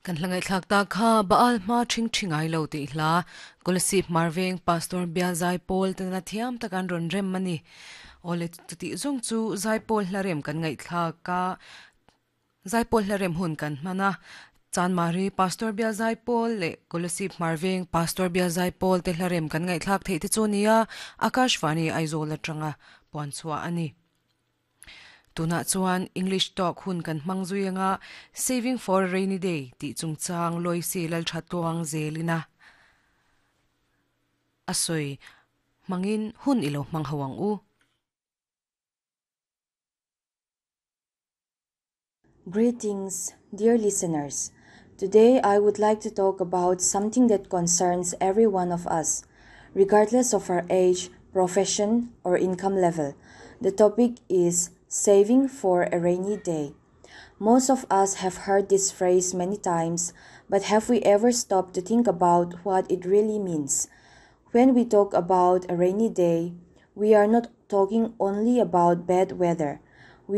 Kan hla ngaihthlak ta kha Baal hma ṭhing ṭhi ngai lo tih hla Kolasib Hmarveng Pastor Bial Zaipawl tena thiam tak an rawn rem a ni. Awle chutih zawng chu Zaipawl hla rem kan ngaihthlak a, Zaipawl hla rem hun kan hman a. Chanmari Pastor Bial Zaipawl leh Kolasib Hmarveng Pastor Bial Zaipawl te hla rem kan ngaihthlak theih te chu nia Akashvani Aizawl atanga puan chhuah a ni. Tunah chuan English talk hun kan hmang zui anga Saving for a Rainy Day tih chungchang Loisi Lalthatluang zelina a sawi hmangin hun i lo hmang ho ang u. Greetings, dear listeners. Today I would like to talk about something that concerns every one of us, regardless of our age, profession, or income level. The topic is saving for a rainy day. Most of us have heard this phrase many times, but have we ever stopped to think about what it really means? When we talk about a rainy day, we are not talking only about bad weather.